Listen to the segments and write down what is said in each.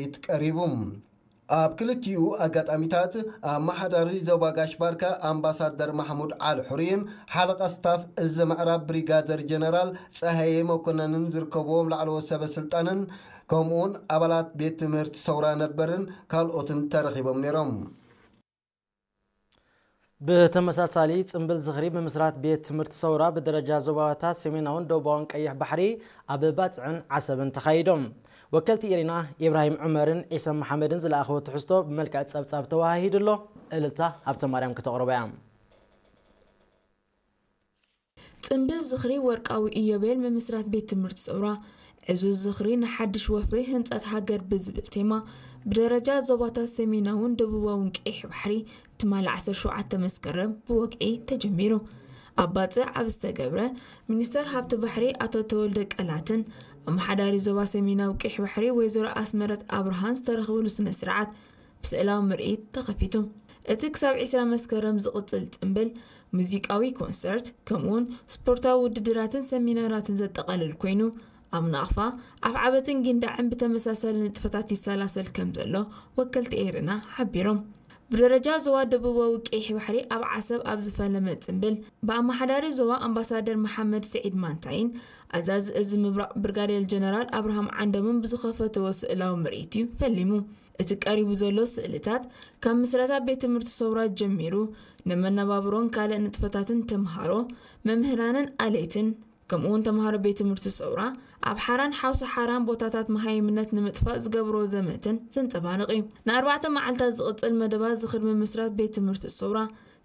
ኢት ቀሪቡ። ኣብ ክልቲኡ ኣጋጣሚታት ኣመሓዳሪ ዞባ ጋሽ ባርካ ኣምባሳደር ማሕሙድ ዓሊ ሑሪን ሓለቓ ስታፍ እዚ ምዕራብ ብሪጋደር ጀነራል ጸሃየ መኮነንን ዝርከብዎም ላዕለዎት ሰበ ስልጣንን ከምኡውን ኣባላት ቤት ትምህርቲ ሰውራ ነበርን ካልኦትን ተረኺቦም ነይሮም። ብተመሳሳሊ ጽምብል ዝኽሪ ብምስራት ቤት ትምህርቲ ሰውራ ብደረጃ ዞባታት ሰሜናውን ደቡባውን ቀይሕ ባሕሪ ኣብ ባጽዕን ዓሰብን ተኻይዶም። ወከልቲ ኢሪና ኢብራሂም ዑመርን ዒሰ መሓመድን ዝለኣኸዎ ትሕዝቶ ብመልክዕ ጸብጻብ ተወሃሂዱ ኣሎ። እልልታ ሃብተ ማርያም ከተቕርቦ እያ። ጽምብል ዝኽሪ ወርቃዊ ኢዮቤል ምምስራት ቤት ትምህርቲ ሰውራ ዕዙዝ ዝኽሪ ንሓድሽ ወፍሪ ህንጸት ሃገር ብዝብል ቴማ ብደረጃ ዞባታት ሰሜናውን ደቡባውን ቀይሕ ባሕሪ ትማሊ ዓሰርተ ሸውዓተ መስከረም ብወግዒ ተጀሚሩ። ኣብ ባጽዕ ኣብ ዝተገብረ ሚኒስተር ሃብቲ ባሕሪ ኣቶ ተወልደ ቀላትን ኣመሓዳሪ ዞባ ሰሜናዊ ቀይሕ ባሕሪ ወይዘሮ ኣስመረት ኣብርሃን ዝተረኽብሉ ስነ ስርዓት ብስእላዊ ምርኢት ተኸፊቱ። እቲ ክሳብ ዕስራ መስከረም ዝቕጽል ጽምብል ሙዚቃዊ ኮንሰርት ከምኡውን ስፖርታዊ ውድድራትን ሰሚናራትን ዘጠቓልል ኮይኑ ኣብ ናቕፋ ኣፍዓበትን ጊንዳዕን ብተመሳሳሊ ንጥፈታት ይሰላሰል ከም ዘሎ ወከልቲ ኤርና ሓቢሮም። ብደረጃ ዞባ ደቡባዊ ቀይሕ ባሕሪ ኣብ ዓሰብ ኣብ ዝፈለመ ጽምብል ብኣመሓዳሪ ዞባ ኣምባሳደር መሓመድ ስዒድ ማንታይን ኣዛዚ እዚ ምብራቕ ብርጋዴር ጀነራል ኣብርሃም ዓንደምን ብዝኸፈትዎ ስእላዊ ምርኢት እዩ ፈሊሙ። እቲ ቀሪቡ ዘሎ ስእልታት ካብ ምስረታ ቤት ትምህርቲ ሰውራ ጀሚሩ ንመነባብሮን ካልእ ንጥፈታትን ተምሃሮ፣ መምህራንን ኣለይትን ከምኡውን ተምሃሮ ቤት ትምህርቲ ሰውራ ኣብ ሓራን ሓውሲ ሓራን ቦታታት መሃይምነት ንምጥፋእ ዝገብርዎ ዘመትን ዘንጸባርቕ እዩ። ንኣርባዕተ መዓልታት ዝቕጽል መደባት ዝኽሪ ምምስራት ቤት ትምህርቲ ሰውራ፣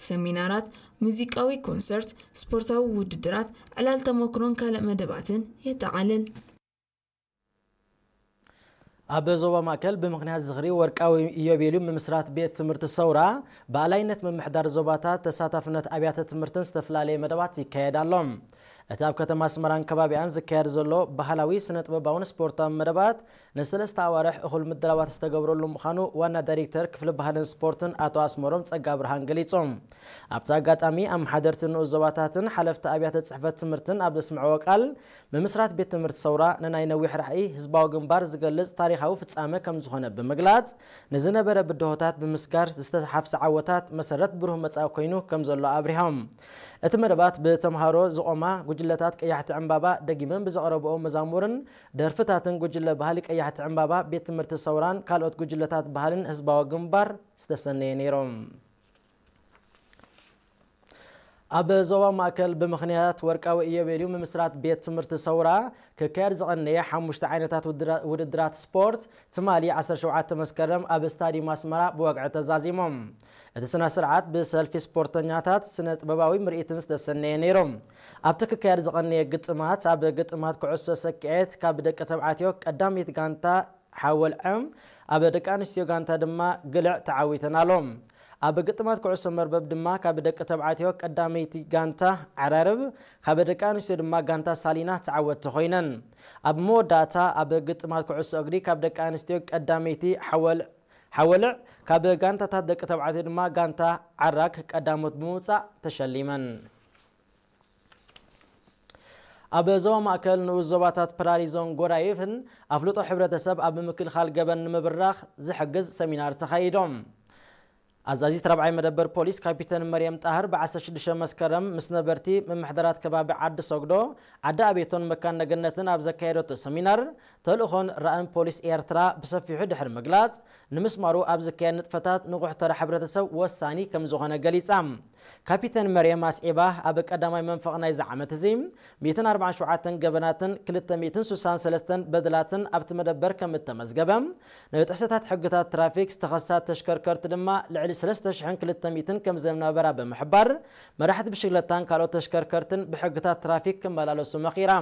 ሰሚናራት፣ ሙዚቃዊ ኮንሰርት፣ ስፖርታዊ ውድድራት፣ ዕላል ተመክሮን ካልእ መደባትን የጠቓልል። ኣብ ዞባ ማእከል ብምኽንያት ዝኽሪ ወርቃዊ ኢዮቤልዩ ምምስራት ቤት ትምህርቲ ሰውራ ብኣላይነት ምምሕዳር ዞባታት ተሳታፍነት ኣብያተ ትምህርትን ዝተፈላለየ መደባት ይካየድ ኣሎ። እቲ ኣብ ከተማ ኣስመራን ከባቢኣን ዝካየድ ዘሎ ባህላዊ ስነ ጥበባውን ስፖርታዊ መደባት ንሰለስተ ኣዋርሕ እኹል ምድላዋት ዝተገብረሉ ምዃኑ ዋና ዳይሬክተር ክፍሊ ባህልን ስፖርትን ኣቶ ኣስመሮም ጸጋ ብርሃን ገሊጹ። ኣብቲ ኣጋጣሚ ኣመሓደርቲ ንኡስ ዞባታትን ሓለፍቲ ኣብያተ ጽሕፈት ትምህርትን ኣብ ዘስምዕዎ ቃል ምምስራት ቤት ትምህርቲ ሰውራ ንናይ ነዊሕ ራእይ ህዝባዊ ግንባር ዝገልጽ ታሪኻዊ ፍጻመ ከም ዝኾነ ብምግላጽ ንዝነበረ ብድሆታት ብምስጋር ዝተሓፍሰ ዓወታት መሰረት ብሩህ መጻኢ ኮይኑ ከም ዘሎ ኣብሪሆም። እቲ መደባት ብተምሃሮ ዝቖማ ጉጅለታት ቀያሕቲ ዕምባባ ደጊመን ብዘቕረብኦ መዛሙርን ደርፍታትን ጉጅለ ባህሊ ቀያሕቲ ዕምባባ ቤት ትምህርቲ ሰውራን ካልኦት ጉጅለታት ባህልን ህዝባዊ ግንባር ዝተሰነየ ነይሮም። ኣብ ዞባ ማእከል ብምኽንያት ወርቃዊ ኢዮቤልዩ ምምስራት ቤት ትምህርቲ ሰውራ ክካየድ ዝቐነየ ሓሙሽተ ዓይነታት ውድድራት ስፖርት ትማሊ ዓሰርተ ሸውዓተ መስከረም ኣብ ስታዲየም ኣስመራ ብወግዒ ተዛዚሞም። እቲ ስነ ስርዓት ብሰልፊ ስፖርተኛታት ስነ ጥበባዊ ምርኢትን ዝተሰነየ ነይሩ። ኣብቲ ክካየድ ዝቐነየ ግጥማት ኣብ ግጥማት ኩዕሶ ሰኪዔት ካብ ደቂ ተባዕትዮ ቀዳመይቲ ጋንታ ሓወልዐ ኣብ ደቂ ኣንስትዮ ጋንታ ድማ ግልዕ ተዓዊተን ኣሎ። ኣብ ግጥማት ኩዕሶ መርበብ ድማ ካብ ደቂ ተባዕትዮ ቀዳመይቲ ጋንታ ዓራርብ ካብ ደቂ ኣንስትዮ ድማ ጋንታ ሳሊና ተዓወትቲ ኮይነን። ኣብ መወዳእታ ኣብ ግጥማት ኩዕሶ እግሪ ካብ ደቂ ኣንስትዮ ቀዳመይቲ ሓወል ሓወልዕ ካብ ጋንታታት ደቂ ተባዕትዮ ድማ ጋንታ ዓራግ ቀዳሞት ብምውፃእ ተሸሊመን። ኣብ ዞባ ማእከል ንኡስ ዞባታት ፕራሪዞን ጎዳይፍን ኣፍልጦ ሕብረተሰብ ኣብ ምክልኻል ገበን ንምብራኽ ዝሕግዝ ሰሚናር ተኻይዶም። ኣዛዚት ራብዓይ መደበር ፖሊስ ካፒተን መርየም ጣህር ብ16 መስከረም ምስ ነበርቲ ምምሕዳራት ከባቢ ዓዲ ሰግዶ፣ ዓዲ ኣቤቶን መካነ ገነትን ኣብ ዘካየደቶ ሰሚናር ተልእኾን ራእን ፖሊስ ኤርትራ ብሰፊሑ ድሕሪ ምግላጽ ንምስማሩ ኣብ ዝካየድ ንጥፈታት ንቑሕ ተራ ሕብረተሰብ ወሳኒ ከም ዝኾነ ገሊጻ። ካፒተን መርየም ኣስዒባ ኣብ ቀዳማይ መንፈቕ ናይዚ ዓመት እዚ ሚእትን ኣርባዓን ሸውዓተን ገበናትን ክልተ ሚእትን ስሳን ሰለስተን በደላትን ኣብቲ መደበር ከም እተመዝገበ፣ ንጥሕሰታት ሕግታት ትራፊክ ዝተኸሳ ተሽከርከርቲ ድማ ልዕሊ ሰለስተ ሽሕን ክልተ ሚእትን ከም ዝነበራ ብምሕባር፣ መራሕቲ ብሽክለታን ካልኦት ተሽከርከርትን ብሕግታት ትራፊክ ክመላለሱ መኺራ።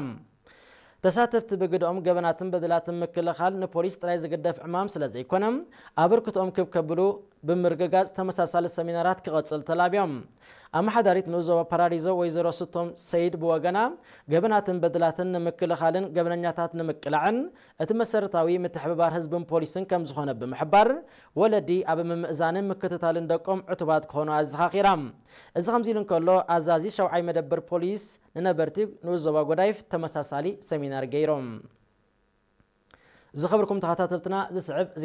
ተሳተፍቲ ብግደኦም ገበናትን በደላትን ምክልኻል ንፖሊስ ጥራይ ዝግደፍ ዕማም ስለ ዘይኮነ ኣበርክትኦም ክብ ከብሉ ብምርግጋጽ ተመሳሳሊ ሰሚናራት ክቐጽል ተላብዮም። ኣመሓዳሪት ንኡስ ዞባ ፓራዲዞ ወይዘሮ ስቶም ሰይድ ብወገና ገበናትን በደላትን ንምክልኻልን ገበነኛታት ንምቅላዕን እቲ መሰረታዊ ምትሕብባር ህዝብን ፖሊስን ከም ዝኾነ ብምሕባር ወለዲ ኣብ ምምእዛንን ምክትታልን ደቆም ዕቱባት ክኾኑ ኣዘኻኺራ። እዚ ከምዚ ኢሉ እንከሎ ኣዛዚ ሻውዓይ መደበር ፖሊስ ንነበርቲ ንኡስ ዞባ ጎዳይፍ ተመሳሳሊ ሰሚናር ገይሮም። ዝኸበርኩም ተኸታተልትና፣ ዝስዕብ ዜና